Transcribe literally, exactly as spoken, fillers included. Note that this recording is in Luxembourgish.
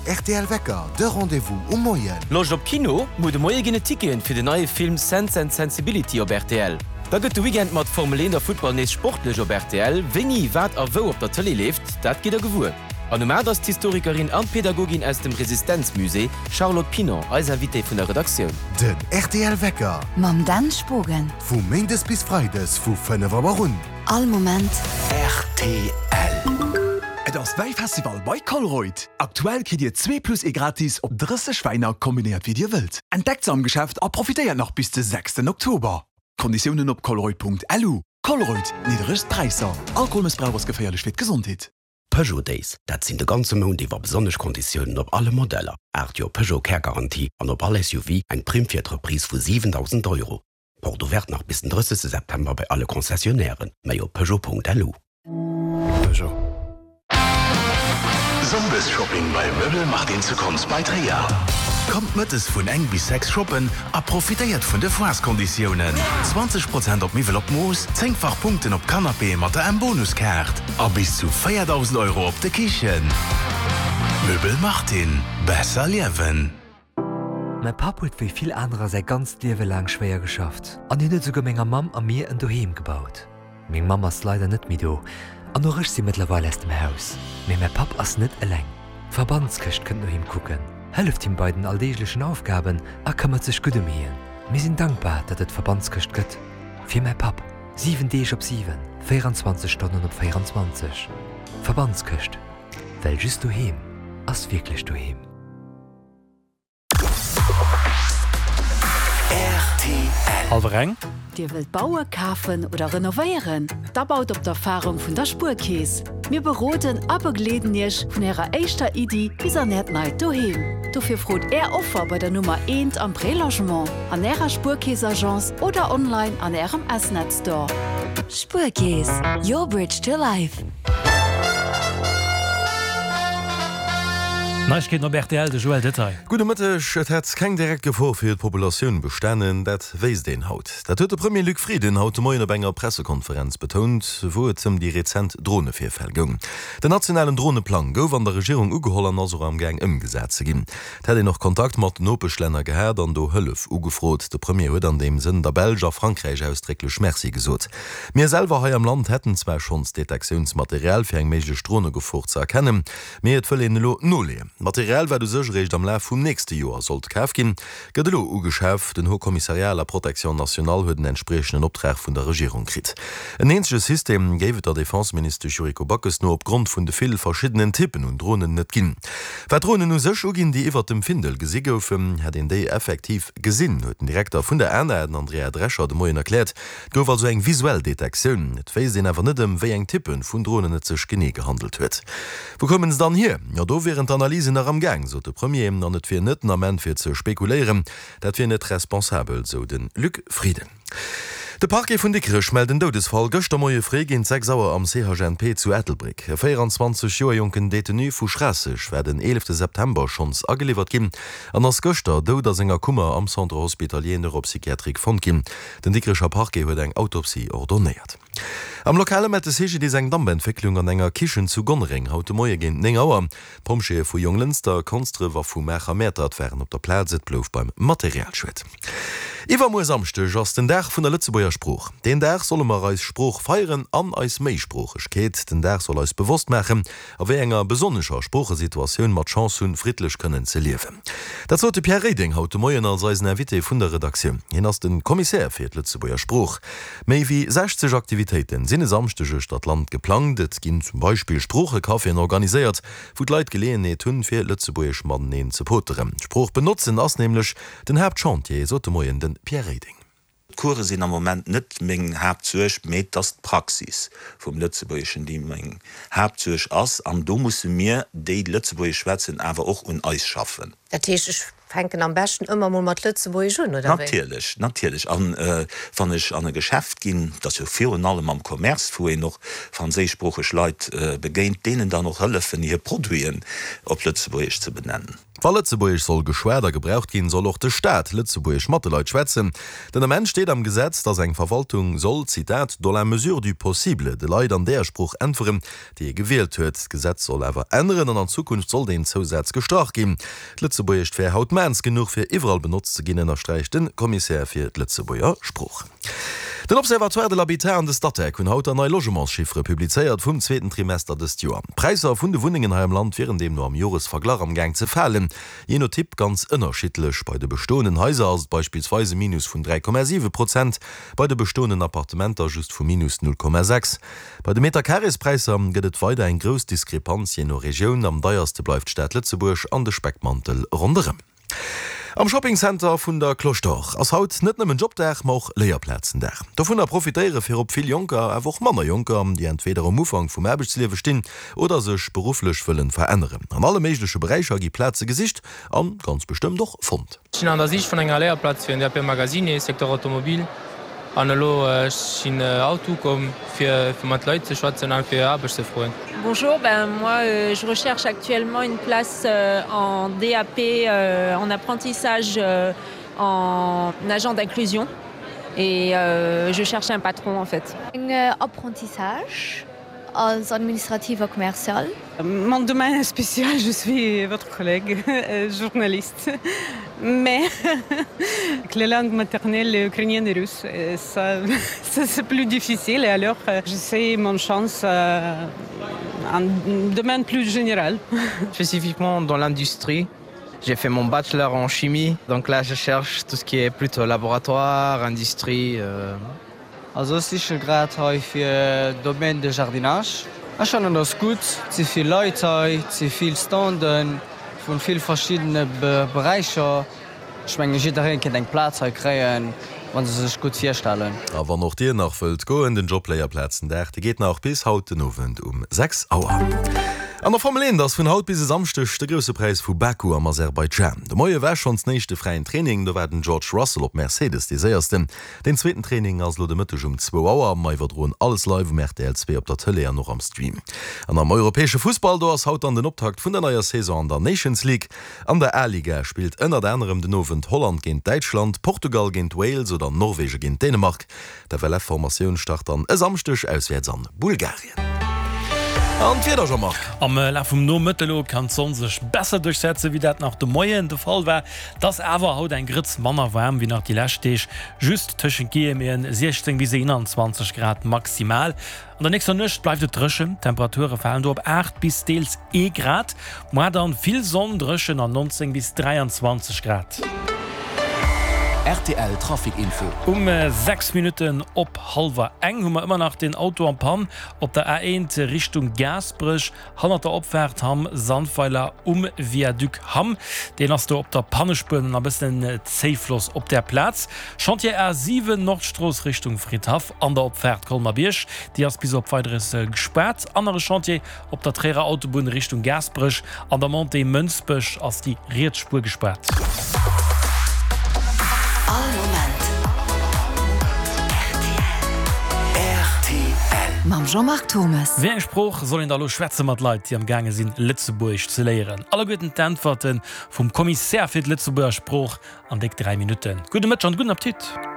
rtl Wecker, de Rendez-vous um Moien. Loscht op Kino? Muer de Moie ginn et Ticketen fir den neie Film Sense and Sensibility op rtl. Da gëtt de Weekend mat Formel eent a Futtball nees sportlech op rtl. Wéini, wat a wou op der Tëlee leeft, dat gitt der gewuer. An um aacht ass d'Historikerin an Pädagogin aus dem Resistenzmusée, Charlotte Pinon, eis Invitée vun der Redaktioun. Den rtl Wecker. Mam Dan Spogen. Vu méindes bis freides vu fënnef Auer un. All Moment. Rtl. Et ass Wäifestival bei Colruyt! Aktuell kritt Dir zwee plus ee gratis op drësseg Wäiner, kombinéiert wéi Dir wëllt. Entdeckt se am Geschäft a profitéiert nach bis de sechsten Oktober. Konditiounen op colruyt.lu. Colruyt, nidderegst Präisser. Alkoholmëssbrauch ass geféierlech fir d'Gesondheet. Peugeot Days, dat sinn de ganze Mount iwwer besonnesch Konditiounen op alle Modeller, aacht Joer Peugeot Care Garantie an op all S U V eng Primm fir d'Reprise vu siwendausend Euro. Porte ouverte nach bis den drëssegste September bei alle Concessionnairen. Méi op Peugeot.lu. Peugeot. Sonndesshopping bei Möbel Martin zu Konz bei Tréier. Kommt mëttes vun eng bis sechs shoppen a profitéiert vun de Foireskonditiounen. zwanzeg Prozent op Miwwel op Mooss, zéngfach Punkten op Canapéë mat der M-Bonuskaart a bis zu véierdausend Euro op de Kichen. Möbel Martin, besser liewen. Mäi Papp huet wéi vill anerer säi ganzt Liewe laang schwéier geschafft an hien huet souguer menger Mamm a mir en Doheem gebaut. Meng Mamm ass leider net méi do an och ech si mëttlerweil aus dem Haus. Mee mäi Papp ass net eleng. D'Verbandskëscht kënnt no him kucken, hëlleft him bei den alldeeglechen Aufgaben a këmmert sech gutt ëm hien. Mir sinn dankbar, datt et d'Verbandskëscht gëtt. Fir mäi Papp, siwen Deeg op siwen, véierenzwanzeg Stonnen op véierenzwanzeg. Verbandskëscht, well just doheem ass wierklech doheem. Hallwer eng. Dir wëllt bauen, kafen oder renovéieren? Da baut op d'Erfarung vun der Spuerkeess. Mir beroden a begleeden Iech vun Ärer éischter Iddi bis an Äert neit Doheem. Dofir frot Är Offer bei der Nummer eent am Prélogement, an Ärer Spuerkeess-Agence oder online an Ärem S-Net Store. Spuerkeess, your bridge to life. Neiegkeeten op rtl, de Joël Detail. Gudde Mëtteg. Et hätt keng direkt Gefor fir d'Populatioun bestanen, dat wéisst een haut. Dat huet de Premier Luc Frieden haut de Moien op enger Pressekonferenz betount, wou et ëm déi rezent Dronevirfäll goung. Den nationalen Droneplang gouf an der Regierung ugeholl an ass och am Gaang ëmgesat ze ginn. Et hätt een och Kontakt mat Nopeschlänner gehat an do Hëllef ugefrot. De Premier huet an deem Sënn der Belsch a Frankräich ausdrécklech Merci gesot. Mir selwer hei am Land hätten zwar schonns Detektiounsmaterial fir eng méiglech Dronegefor ze erkennen, mee et wëll een elo noleeën. D'Material, wat u sech eréischt am Laf vum nächste Joer sollt kaf ginn, gëtt elo ugeschaf. Den Haut Commissariat à la Protection nationale huet en entspriechenden Optrag vun der Regierung kritt. En eenzege System géif et der Defenseministesch Yuriko Backes no opgrond vun de vill verschiddenen Typpen un Dronen net ginn. Wat d'Dronen u sech uginn, déi iwwert dem Findel gesi goufen, hätt een déi effektiv gesinn, huet den Direkter vun der A N A, den Andrea Drescher, de Moien erkläert. Et gouf also eng visuell Detektioun. Et wéisst een awer net ëm wéi eng Typpe vun Dronen et sech genee gehandelt huet. Wou koumen se dann hier? Jo, do wieren d'Analysen nach am Gaang, sot de Premier, an et wier net den Ament fir ze spekuléieren. Dat wier net responsabel, sou de Luc Frieden. De Parquet vun Dikrech mellt en Doudesfall gëschter Moie fréi géint sechs Auer am C H N P zu Ettelbréck. E véierenzwanzeg Joer jonken Detenu vu Schraasseg war den eelefte September schonns ageliwwert ginn an ass gëschter dout a senger Kummer am Centre hospitalier neuropsychiatrique fonnt ginn. Den Dikrecher Parquet huet eng Autopsie ordonéiert. Am Lokale mellt de C G D I S eng Dampentwécklung an enger Kichen zu Gonnereng haut de Moie géint néng Auer. D'Pompjeeë vu Jonglënster, Konsdref a vu Maacher-Mäertert waren op der Plaz, et blouf beim Materialschued. Iwwermuer Samschdeg ass den Dag vun der Lëtzebuerger Sprooch. Deen Dag solle mer eis Sprooch feieren an eis Méisproochegkeet. Den Dag soll eis bewosst maachen, a wéi enger besonnescher Sproochesituatioun mer d'Chance hunn, friddlech kënnen ze liewen. Dat sot de Pierre Reding haut de Moien als eisen Invité vun der Redaktioun. Hien ass de Kommissär fir d'Lëtzebuerger Sprooch. Méi wéi sechzeg Aktivitéiten sinn e Samschdeg uechter d'Land geplangt. Et ginn zum Beispill Sproochecaféen organiséiert, wou d'Leit Geleeënheet hunn, fir Lëtzebuergesch mateneen ze poteren. D'Sprooch benotzen ass nämlech den Haaptchantier, sot de Moien de Pierre Reding. D'Course sinn am Moment net meng Haaptsuerg, mee et ass d'Praxis vum Lëtzebuergeschen, déi meng Haaptsuerg ass. An do musse mir, déi Lëtzebuergesch schwätzen, awer och un eis schaffen. Dat heescht, ech fänken am beschten ëmmer mol mat Lëtzebuergesch un, oder wéi? Natierlech, natierlech. An wann ech an e Geschäft ginn, dat ass jo virun allem am Commerce, wou een och franséischsproocheg Leit begéint, deenen dann och hëllefen, hir Produiten op Lëtzebuergesch ze benennen. Wa Lëtzebuergesch soll geschwat a gebraucht ginn, soll och de Staat Lëtzebuergesch mat de Leit schwätzen. Den Ament steet am Gesetz, datt eng Verwaltung soll, Zitat, dans la mesure du possible de Leit an där Sprooch äntweren, déi ee gewielt huet. D'Gesetz soll awer änneren an an Zukunft soll deen Zousaz gestrach ginn. D'Lëtzebuergescht wär haut maans genuch, fir iwwerall benotzt ze ginn, ënnersträicht de Kommissär fir d'Lëtzebuerger Sprooch. Den Observatoire de l'habitat an de Statec hunn haut der nei Logementschiffere publizéiert vum zweeten Trimester dëst Joer. D'Präisser vun de Wunnengen hei am Land wieren deemno am Joresverglach am Gaang ze falen, jee no Typ ganz ënnerschiddlech. Bei de bestoenden Haiser ass et beispillsweis e Minus vun dräi Komma siwe Prozent, bei de bestoenden Appartementer just vu minus null Komma sechs. Bei de Meterkarespräisser gëtt et weider eng grouss Diskrepanz jee no Regioun, am deierste bleift d'Stad Lëtzebuerg an de Speckmantel ronderëm. Am Shopping Center vun der Cloche d'Or ass haut net nëmmen Jobdag, ma och Léierplazendag. Dovunner profitéiere virop vill Jonker, awer och manner Jonker, déi entweeder um Ufank vum Aarbechtsliewe stinn oder sech berufflech wëllen veränneren. An alle méigleche Beräicher gi Plaze gesicht an ganz bestëmmt och fonnt. Ech sinn an der Sich vun enger Léierplaz fir en D A P Magasinier, Secteur Automobile. An elo ech sinn haut ukomm fir fir mat Leit ze schwätzen an fir Aarbecht ze froen. Bonjour, ben moi je recherche actuellement une place en D A P en apprentissage en agent d'inclusion et je cherche un patron en fait. Eng Apprentissage als administrative a commercial. Mon domaine spécial, je suis votre collègue journaliste, mais les langues maternelles ukrainienne et russe, ça, ça c'est plus difficile et alors j'essaie mon chance en domaine plus général. Spécifiquement dans l'industrie, j'ai fait mon bachelor en chimie, donc là je cherche tout ce qui est plutôt laboratoire, industrie. Euh... Also ech siche grad hei fir Domaine de jardinage. Ech fannen ass gutt, et si vill Leit hei, et si vill Standen vun vill verschiddene Beräicher. Ech menge jiddereen kéint eng Plaz hei kréien, wa se sech gutt virstellen. A wann och dir nach wëllt goen, den Jobléierplazendag, dee geet nach bis haut den Owend um sechs Auer. An der Formel eent ass vun haut bis e Samschdeg de Grousse Präis vu Baku am Aserbaidschan. De Moie war schonns den éischte fräien Training, do war den George Russell op Mercedes dee séiersten. Den zweeten Training ass elo de Mëtteg um zwou Auer. Mer iwwerdroen alles live um R T L zwee op der Tëlee an och am Stream. An am europäesche Fussball, do ass haut dann den Optakt vun der neier Saison an der Nations League. An der A-Liga spillt ënnert anerem den Owend Holland géint Däitschland, Portugal géint Wales oder Norwege géint Dänemark. D'F L F-Formatioun start dann e Samschdeg auswäerts an Bulgarien. An d'Wieder, Jean-Marc? Am Laf vum Nomëtte lo kann d'Sonn sech besser duerchsetze wéi dat nach de Moien de Fall war. Et ass awer haut eng Grëtz manner waarm wéi nach déi lescht Deeg, just tëschent Guillemeten siechzéng bis eenanzwanzeg Grad maximal. An der nächster Nuecht bleift et dréchen, d'Temperature falen do op aacht bis deels ee Grad. Moar dann vill Sonn, dréchen an nonzéng bis dräianzwanzeg Grad. R T L Trafic Info. Um sechs Minutten op hallwer eng hu mer ëmmer nach den Auto en panne op der A eent Richtung Gaasperech, hannert der Opfaart Hamm Sandweiler um Viaduc Hamm. Deen ass do op der Pannespuer an e bëssen Zéifloss op där Plaz. Chantier A siwen Nordstrooss Richtung Fridhaff an der Opfaart Colmer-Bierg, déi ass bis op Weideres gespaart. Anere Chantier op der Tréierer Autobunn Richtung Gaasperech an der Montée Mënsbech ass déi riets Spuer gespaart. All Moment R T L. Mam Jean-Marc Thommes. Wéi eng Sprooch soll een da lo schwätze mat Leit, déi am gaange sinn, Lëtzebuergesch ze léieren? Alleguerten d'Äntwerte vum Kommissär fir d'Lëtzebuerger Sprooch an déck dräi Minutten. Gudde Mëtteg an gudden Appetit!